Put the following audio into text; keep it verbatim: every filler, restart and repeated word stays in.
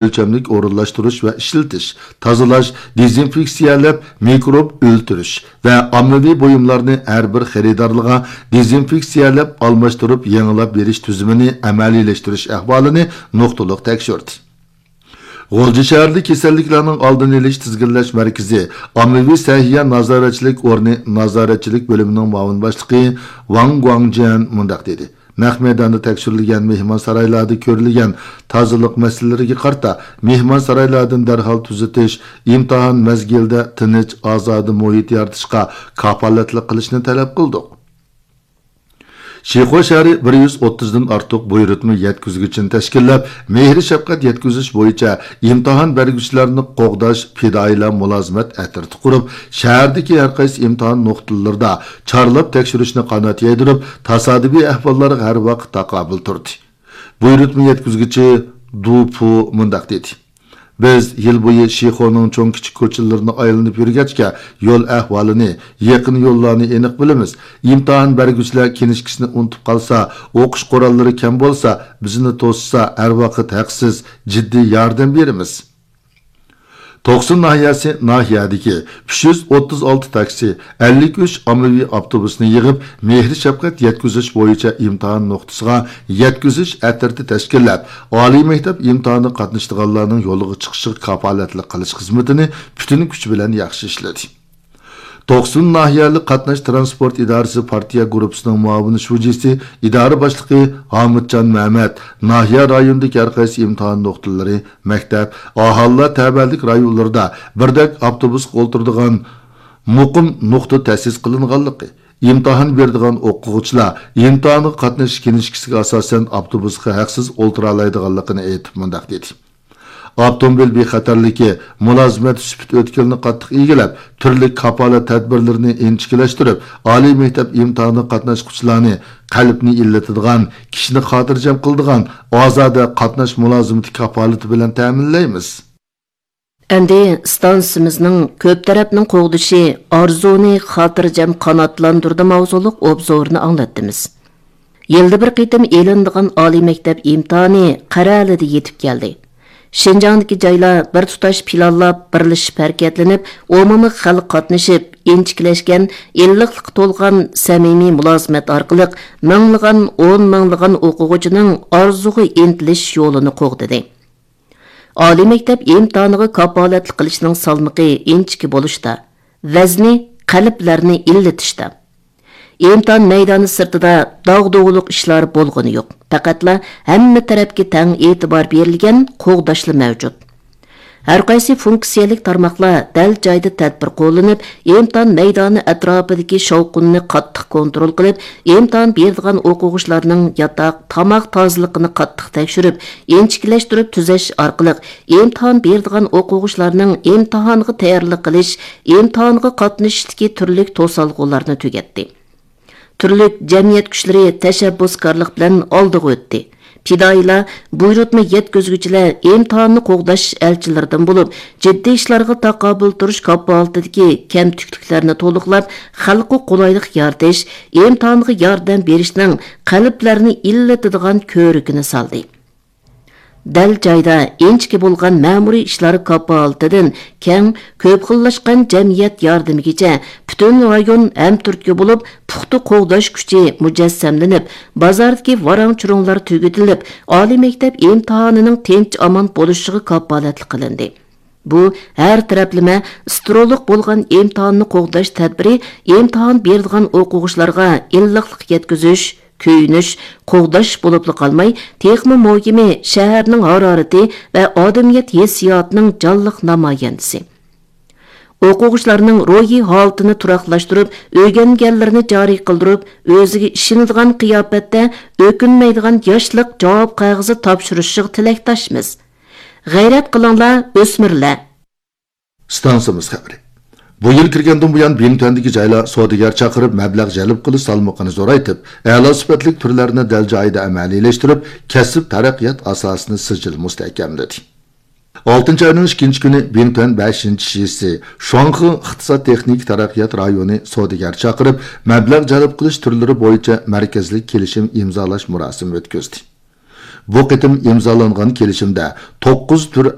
ئۆلچەملىك ئورۇنلاشتۇرۇش ۋە ئىشلىتىش، تازىلاش، دېزىنفېكسىيەلەپ مىكروب ئۆلتۈرۈش ۋە ئاممىۋى بۇيۇملارنى ھەر بىر خېرىدارلىغا دېزىنفېكسىيەلەپ ئالماشتۇرۇپ يېڭىلاپ بېرىش تۈزۈمىنى ئەمەلىيلەشتۈرۈش ئەھۋالىنى نۇقتىلىق تەكشۈردى. غۇلجا شەھىرىدە كېسەللىكلەرنىڭ ئالدىنى ئېلىش تىزگىنلەش مەركىزى ئاممىۋى سەھىيە نازارەتچىلىك ئورنى نازارەتچىلىك بۆلۈمىنىڭ مۇئاۋىن باشلىقى ۋاڭ گۇاڭجيەن مۇنداق دېدى: نەق مەيداندا تەكشۈرۈلگەن مېھمانسارايلاردا كۆرۈلگەن تازىلىق مەسىلىلىرىگە قارىتا، مېھمانسارايلاردىن دەرھال تۈزىتىش، ئىمتىھان مەزگىلىدە تىنچ، ئازادە مۇھىت يارىتىشقا كاپالەتلىك قىلىشنى تەلەپ قىلدۇق. شىخۇا شەھىرى بىر يۈز ئوتتۇزدىن ئارتۇق بۇيرۇتما يەتكۈزگۈچىنى تەشكىللەپ، مېھرى شەپقەت يەتكۈزۈش بويىچە ئىمتىھان بەرگۈچىلەرنى قوغداش پىدائىيلار مۇلازىمەت ئەترىتى قۇرۇپ، شەھەردىكى ھەرقايسى ئىمتىھان نۇقتىلىرىدا چارلاپ تەكشۈرۈشنى قانات يايدۇرۇپ، تاسادىپىي ئەھۋاللارغا ھەر ۋاقىت تاقابىل تۇردى. بۇيرۇتما يەتكۈزگۈچى دۇ پۇ مۇنداق دېدى: بىز يىل بويى شىخۇنىڭ چوڭ كىچىك كوچىلىرىنى ئايلىنىپ يۈرگەچكە، يول ئەھۋالىنى، يېقىن يوللارنى ئېنىق بىلىمىز. ئىمتىھان بەرگۈچىلەر كىنىشكىسىنى ئۇنتۇپ قالسا، ئوقۇش قوراللىرى كەم بولسا، بىزنى توسسا، ھەر ۋاقىت ھەقسىز، جىددىي ياردەم بېرىمىز. توقسۇن ناھىيەسى ناھىيەدىكى ئۈچ يۈز ئوتتۇز ئالتە تاكسى، ئەللىك ئۈچ ئاممىۋى ئاپتوبۇسنى يىغىپ، مېھرى شەپقەت يەتكۈزۈش بويىچە ئىمتىھان نۇقتىسىغا يەتكۈزۈش ئەترىتى تەشكىللەپ، ئالىي مەكتەپ ئىمتىھانىغا قاتنىشىدىغانلارنىڭ يولغا چىقىشىغا كاپالەتلىك قىلىش خىزمىتىنى پۈتۈن كۈچ بىلەن ياخشى ئىشلىدى. توقسۇن ناھىيەلىك قاتناش تىرانسپورت ئىدارىسى پارتىيە گۇرۇپپىسىنىڭ مۇئاۋىن شۇجىسى، ئىدارە باشلىقى ھامۇتجان مەمەت ناھىيە رايونىدىكى ھەرقايسى ئىمتىھان نۇقتىلىرى، مەكتەپ، ئاھالىلەر تەۋەلىك رايونلىرىدا بىردەك ئاپتوبۇسقا ئولتۇرىدىغان مۇقىم نۇقتا تەسىس قىلىنغانلىقى، ئىمتىھان بېرىدىغان ئوقۇغۇچىلار ئىمتىھانغا قاتنىشىش كىنىشكىسىگە ئاساسەن ئاپتوبۇسقا ھەقسىز ئولتۇرالايدىغانلىقىنى ئېيتىپ مۇنداق دېدى: ئاپتوموبىل بىخەتەرلىكى مۇلازىمەت سۈپىتى ئۆتكىلىنى قاتتىق ئىگىلەپ، تۈرلۈك كاپالەت تەدبىرلىرىنى ئىنچىكىلەشتۈرۈپ، ئالىي مەكتەپ ئىمتىھانىغا قاتناشقۇچىلارنى قەلبنى ئىللىتىدىغان، كىشىنى خاتىرجەم قىلىدىغان ئازادە قاتناش مۇلازىمىتى كاپالىتى بىلەن تەمىنلەيمىز. ئەمدى ئىستانسىمىزنىڭ كۆپ تەرەپنىڭ قوغدىشى ئارزۇنى خاتىرجەم قاناتلاندۇردى ماۋزۇلۇق ئوبزورىنى ئاڭلاتتىمىز. يىلدا بىر قېتىم ئېلىنىدىغان ئالىي مەكتەپ ئىمتىھانى قەرەلىدە يېتىپ كەلدى. شىنجاڭدىكى جايلار بىر تۇتاش پىلانلاپ، بىرلىشىپ ھەرىكەتلىنىپ، ئومۇمىي خەلق قاتنىشىپ، ئىنچىكىلەشكەن، ئىللىقلىققا تولغان سەمىمىي مۇلازىمەت ئارقىلىق مىڭلىغان، ئون مىڭلىغان ئوقۇغۇچىنىڭ ئارزۇغا ئىنتىلىش يولىنى قوغدىدى. ئالىي مەكتەپ ئىمتىھانىغا كاپالەتلىك قىلىشنىڭ سالمىقى ئىنچىكە بولۇشتا، ۋەزنى قەلبلەرنى ئىللىتىشتا. ئىمتىھان مەيدانى سىرتىدا داغدۇغىلىق ئىشلار بولغىنى يوق. پەقەتلا ھەممە تەرەپكە تەڭ ئېتىبار بېرىلگەن قوغداشلا مەۋجۇت. ھەرقايسى فۇنكسىيەلىك تارماقلار دەل جايىدا تەدبىر قوللىنىپ، ئىمتىھان مەيدانى ئەتراپىدىكى شاۋقۇننى قاتتىق كونترول قىلىپ، ئىمتىھان بېرىدىغان ئوقۇغۇچىلارنىڭ ياتاق، تاماق تازىلىقىنى قاتتىق تەكشۈرۈپ، ئىنچىكىلەشتۈرۈپ تۈزەش ئارقىلىق، ئىمتىھان بېرىدىغان ئوقۇغۇچىلارنىڭ ئىمتىھانغا تەييارلىق قىلىش، ئىمتىھانغا قاتنىشىشتىكى تۈرلۈك توسالغۇلارنى تۈگەتتى. تۈرلۈك جەمئىيەت كۈچلىرى تەشەببۇسكارلىق بىلەن ئالدىغا ئۆتتى. پىدائىيلار، بۇيرۇتما يەتكۈزگۈچىلەر ئىمتىھاننى قوغداش ئەلچىلىرىدىن بولۇپ، جىددىي ئىشلارغا تاقابىل تۇرۇش كاپالىتىدىكى كەمتۈكلۈكلەرنى تولۇقلاپ، خەلققە قولايلىق يارىتىش، ئىمتىھانغا ياردەم بېرىشنىڭ قەلبلەرنى ئىللىتىدىغان كۆرۈكىنى سالدى. دەل جايدا ئىنچىكە بولغان مەمۇرىي ئىشلار كاپالىتىدىن كەڭ، كۆپ خىللاشقان جەمئىيەت ياردىمىگىچە پۈتۈن رايون ھەمتۈرتكە بولۇپ، پۇختا قوغداش كۈچى مۇجەسسەملىنىپ، بازاردىكى ۋاراڭ-چۇرۇڭلار تۈگىتىلىپ، ئالىي مەكتەپ ئىمتىھانىنىڭ تىنچ-ئامان بولۇشىغا كاپالەتلىك قىلىندى. بۇ ھەر تەرەپلىمە سترولۇق بولغان ئىمتىھاننى قوغداش تەدبىرى ئىمتىھان بېرىدىغان ئوقۇغۇچىلارغا ئىللىقلىق يەتكۈزۈش، كۆيۈنۈش، قوغداش بولۇپلا قالماي، تېخىمۇ مۇھىمى شەھەرنىڭ ھارارىتى ۋە ئادەمىيەت ھېسسىياتىنىڭ جانلىق نامايەندىسى. ئوقۇغۇچىلارنىڭ روھىي ھالىتىنى تۇراقلاشتۇرۇپ، ئۆگەنگەنلىرىنى جارى قىلدۇرۇپ، ئۆزىگە ئىشىنىدىغان قىياپەتتە ئۆكۈنمەيدىغان ياشلىق جاۋاب قەغىزى تاپشۇرۇشىغا تىلەكداشمىز. غەيرەت قىلىڭلار، ئۆسمۈرلەر! ئىستانسىمىز خەۋىرى. بۇ يىل كىرگەندىن بۇيان، بىڭتۈەندىكى جايلار سودىگەر چاقىرىپ، مەبلەغ جەلپ قىلىش سالمىقىنى زورايتىپ، ئەلا سۈپەتلىك تۈرلەرنى دەل جايىدا ئەمەلىيلەشتۈرۈپ، كەسىپ تەرەققىيات ئاساسىنى سىجىل مۇستەھكەملىدى. ئالتىنچى ئاينىڭ ئىككىنچى كۈنى بىڭتۈەن بەشىنچى شىسى شۇاڭخې ئىقتىساد تېخنىكا تەرەققىيات رايونى سودىگەر چاقىرىپ، مەبلەغ جەلپ قىلىش تۈرلىرى بويىچە مەركەزلىك كېلىشىم ئىمزالاش مۇراسىمى ئۆتكۈزدى. بۇ قېتىم ئىمزالانغان كېلىشىمدە توققۇز تۈر